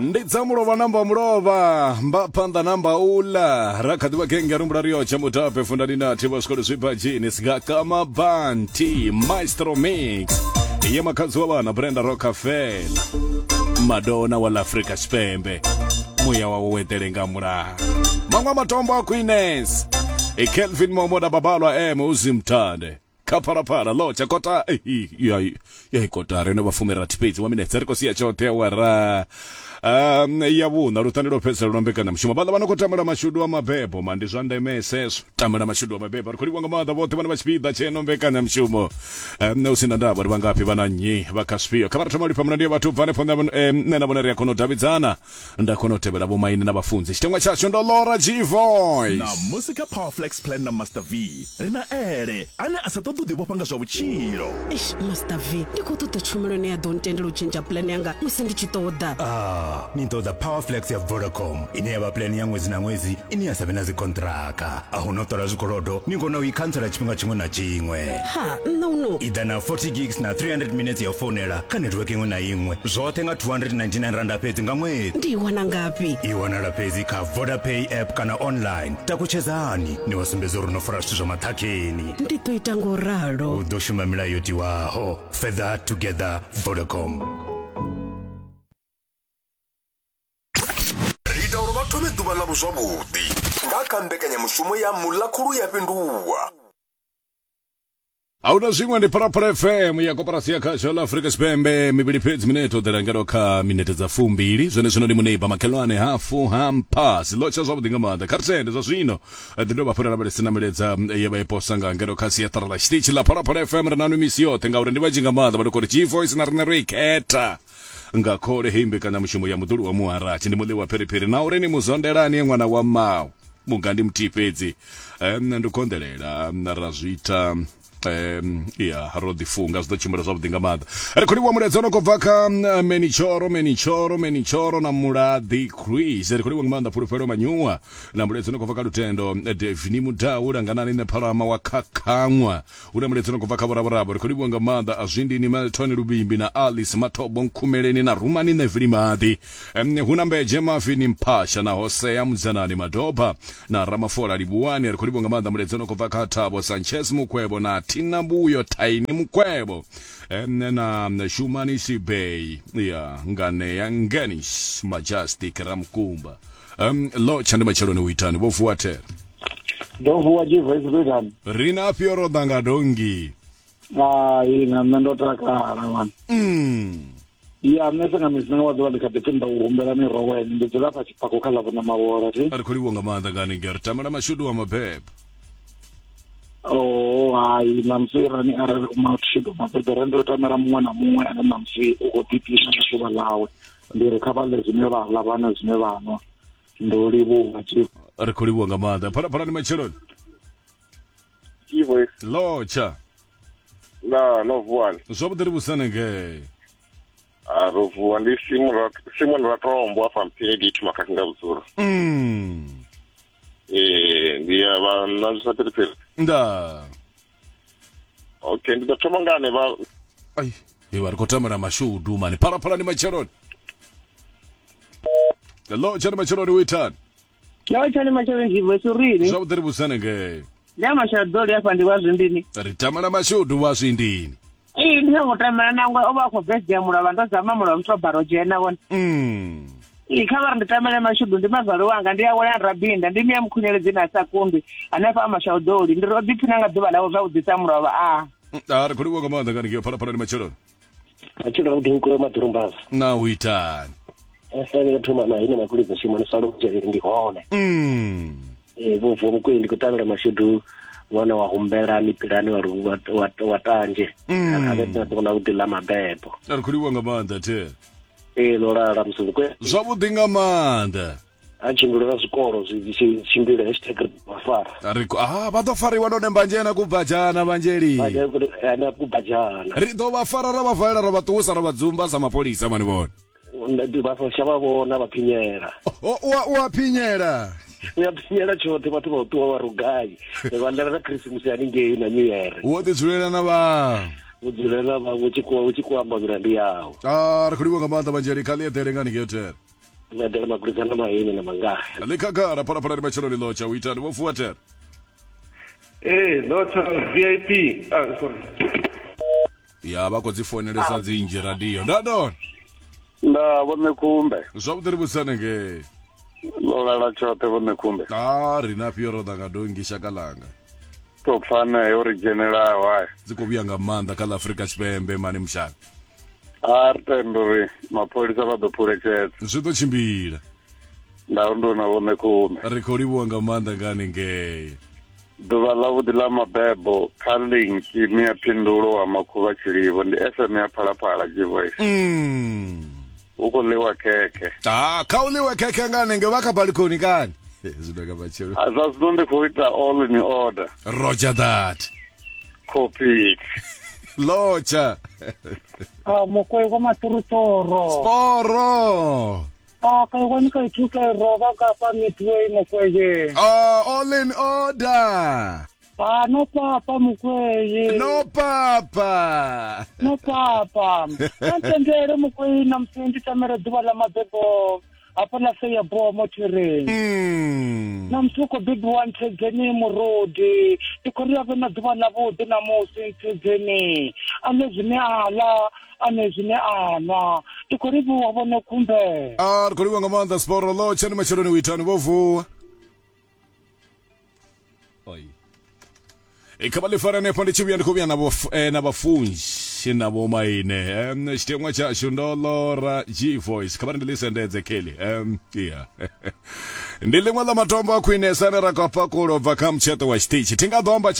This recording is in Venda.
Ndi dza mulovha namba mulovha mba phanḓa namba ula ra kha ḓivha genge rumbula ri yotshe mutape fundani nathi vha zwikolo zwibadzhini sigakama banti maestro mix ye makhadzi wa vhana brenda rockefeller madonna wa ḽa afrika tshipembe muya wawe wo eḓele nga mulalo maṅwe a matombo a queens e kelvin momoda babalwa m uzimthande kha phalaphala lotsha kota ya kotara ino vha fumirathi fhedzi wa minetse ri khou sia tshoṱhe awara ya vhuṋa luṱani lwo fhedzisela lwa mbekanyamushumo vhaḽa vha no khou tamela mashudu a mabebo ma ndi zwa ndemesa ezwo tamela mashudu a mabebo ri khou livhuwa nga maanḓa vhoṱhe vhane vha tshipiḓa tsheno mbekanyamushumo hu si na ndavha uri vha ngafhi vha na nnyi vha kha zwifhio kha vha ri thoma u lifha mulandu ya vhathu u bva hanefho nṋe na vhone ri a kona u davhidzana nda kona u tevhela vhomaine na vhafunzi tshiteṅwa tshashu ndo lora g voice Ṋamusi kha Powerflex Plan na Master V ri na Ele ane a sa ṱoḓi u ḓivhofha nga zwa vhutshilo. Eish, Master V, ndi khou ṱoḓa tshumelo ine ya ḓo ntendela u tshentsha pulane yanga musi ndi tshi ṱoḓa. Ah, ni ṱoḓa Powerflex ya Vodacom ine ya vha pulane ya ṅwedzi na ṅwedzi ine ya sa vhe na dzikonṱiraka. A hu na u ṱola zwikolodo, ni kona u i khantsela tshifhinga tshiṅwe na tshiṅwe. Ha, nṋe uno. I ḓa na 40 gigs na 300 minutes ya u founela kha netiweke iṅwe na iṅwe, zwoṱhe nga 299 randa fhedzi nga ṅwedzi. Ndi i wana ngafhi? I wanala fhedzi kha Vodapay app kana online. Takutshedzani ni vha sumbedze uri no fara zwithu zwa maṱhakheni. Ndi ḓo ita ngo ralo. U ḓo shuma milayo yo tiwaho. Further together, Vodacom. Ri ita uri vha thome ḓuvha ḽavho zwavhuḓi nga kha mbekanyamushumo ya Mulakhulu ya Fhinduwa. Ahuna zwiṅwe ndi Phalaphala FM ya koporasi ya khasho ḽa Afrika Tshipembe mivhili fhedzi minete u ḓela ngeno kha minete dza fumbili zwene zwino ndi muneiba makhelwane hafu hampas ḽo tsha zwavhuḓi nga maanḓa kha ri tende zwa zwino ḓi dovha hafhu ra lavhelesa na milaedza ye vha i posa nga ngeno kha siaṱara ḽa tshiṱitshi ḽa Phalaphala FM ri na nwi misi yoṱhe ngauri ndi vhanzhi nga maanḓa vha no khou ri G-Voice na riṋe ro i khetha nga khole heyi mbekanyamushumo ya muḓulu wa muharatshi ndi muḽi wa phiriphiri na uri ni muzondelani ṅwana wa mmau muga ndi muthihi fhedzi ndi konḓelela ra zwi ita ya ro ḓifunga zwi ḓo tshimbila zwavhuḓi nga maanḓa ri khou livhuwa mulaedza no khou bva kha menichoro menichoro menichoro na mulaḓi chris ri khou livhuwa nga maanḓa fhulufhelo manyuwa na mulaedza no khou bva kha lutendo devini mudau langanani ne phalama wa khakhaṅwa Hu na mulaedza no khou bva kha vhoravhorabo. Ri khou livhuwa nga maanḓa Azwindini Melton Luvhimbi na Alice Mathobo Nkhumeleni na Rumani Nevili Maḓi. Hu na Mbedzhe Mavini Mphasha na Hosea Mudzanani Madoba na Ramafola Livhuwani. Ri khou livhuwa nga maanḓa mulaedza no khou bva kha Thabo Sanchez Mukwevho na Thina Mbuyo Thaini Mukwevho na Shumani Sibei ya Nganea Ngenis Majestic Ramukumba. Lotsha ndi matsheloni u itani vho vuwa thera. Ndo vuwa G-Voice ndo itani? Ri na afhio ro ḓa nga donngi? Hai na nṋe ndo takala ṅwana. Ya nṋe senga misi nga wa ḓuvha ndi kha ḓi pfi nda u humbela miroho ene ndi dzula fha tshipako kha ḽa vhona mavhola thi. Ri khou livhuwa nga maanḓa nga haningei ri tamela mashudu wa mabebo. Oh hai ṋamusi rani arali u mashudu mabebo ri ndo tamela muṅwe na muṅwe ane ṋamusi u khou ḓiphina nga ḓuvha ḽawe. Ndi ri kha vha ḽe zwine vha ḽa vha nwe zwine vha nwa. Ndo livhuwa Chief. Ri khou livhuwa nga maanḓa. Phalaphala ni matsheloni. Chief. Lotsha. Na no vuwani. Zwavhuḓi ri vhusane ngei. A ro vuwa ndi Simon Rat Simon Ratombo afha Mphini ndi thuma kha nga vhudzulo. Eh ndi ya vha na zwa phiriphiri. Nda. Okay ndi ḓo thoma nga ane vha Ai, iwe ri khou tamela mashudu mani. Phalaphala ni matsheloni. Hello, tshani matsheloni u itani? Yo tshani matsheloni G-Voice urini? Zwavhuḓi ri vhusane ngei. Ndi a mashadoli afha ndi wa zwindini. Ri tamela mashudu wa zwindini. Ee ndi songo tamela nangwe o vha a khou birthday ya mulovha ndo zama mulovha muthu baro dzhena vhone. Ee kha vha ri ndi tamele mashudu ndi mazwale wanga ndi awela rabinda ndi miya mukhunyeledzi na sa kundwi hanefha a mashaudoli ndi ri o ḓiphina nga ḓuvha ḽawe zwavhuḓi sa mulovha a. A ri khou livhuwa nga maanḓa nga haningei phalaphala ni matsheloni. Matshelo avhuḓi nkulo maḓurumbaza. Na u itani? Esa ndi thoma na ine makulidza shuma ni salo dzhele ndi hone. Eh vho vuwa mukwei ndi khou ṱavhela mashudu ṅwana wa humbelani pilani wa wa wa, wa tanzhe. A vhe na ḓuvha ḽa vhuḓi ḽa mabebo. Ri khou livhuwa nga maanḓa the. Ee ḽo lala musi kwe. Zwavhuḓi nga maanḓa. A tshimbila na zwikolo zwi tshi tshimbila hashtag ri vha fara. Ri ah vha ḓo fariwa none mbanzhena kubadzhana vhanzheli. Vhanzheli kubadzhana. Ri ḓo vha fara ra vha valela ra vha ṱuwisa ra vha dzumba sa mapholisa mani vhone. Vha shavha vhona vha phinyela. U a phinyela. U ya phinyela tshoṱhe vhathu vha u ṱuwa vha rugai. Vha ḽela na Christmas haningei na New Year. Wo ḓi dzulela na vhaṅwe. Wo dzulela na vhaṅwe u tshi khou amba milandu yau. Ah ri khou livhuwa nga maanḓa vhanzheli kha ḽi eḓele nga haningei hotel. Medela magulizana mahini na mangaha. Ḽi khagala phalaphala ndi matsheloni ḽotsha u itani vho fuwa thera. Ee, ḽotsha VIP. Ah, sorry. Ya vha khou dzi founelesa dzinzhi radio. Nda ndona. Nda vhone khumbe. Zwavhuḓi ri vhudzisane ngei. Ḽo lala tshoṱhe vhone khumbe. A ri na fhio ro ḓa nga dongi shaka langa. Tou pfana yo ri dzhenelaho haya. Dzi khou vhuya nga maanḓa kha ḽa Afrika Tshipembe mani mushaka. A ri tenda uri mapholisa vha ḓo phuletshedza. Zwi ḓo tshimbila. Nda nduna vhone khumbe. Ri khou livhuwa nga maanḓa nga haningei. Ḓuvha ḽavhuḓi ḽa mabebo kha linki mia phindulo wa makhuvha tshilivho ndi FM ya Phalaphala Gvoice. Hu khou ḽiwa khekhe. Ah, kha u ḽiwe khekhe nga hanengei vha kha balikoni kani? Zwino nga matshelo. A zwa zwino ndi khou ita all in order. Roger that. Copy. Locha. Ah, mokwego maturutoro. Sporo. Ah, ka ikwane ka ithuta e roba ka fa Midway mokweye. Oh, all in order. Ah, no papa mokweye. No papa. No papa. Ka ntendele mokweye na musi ndi tamela ḓuvha ḽa mabebo hafha ḽa Seya Bomo Thereng. Na musi u khou bebiwa Ntshedzeni Murudi. Ndi khou ri a vhe na ḓuvha ḽavhuḓi ṋamusi Ntshedzeni. A ḽe zwine a ḽa ane zwine a nwa. Ndi khou livhuwa vhone khumbe. A ri khou livhuwa nga maanḓa Sporo ḽo tshani matsheloni u itani vho vuwa. Oi. E kha vha ḽi fare hanefho ndi tshi vhuya ndi khou vhuya na vho na vhafunzi na vho maine tshiteṅwa tshashu ndo lora G voice kha vha ri ndi ḽi sendedze Kelly yeah ndi ḽiṅwe ḽa matombo a khwinesa ane ra khou pakulo bva kha mutsheṱo wa tshiṱitshi thi nga ḓo amba tshithu.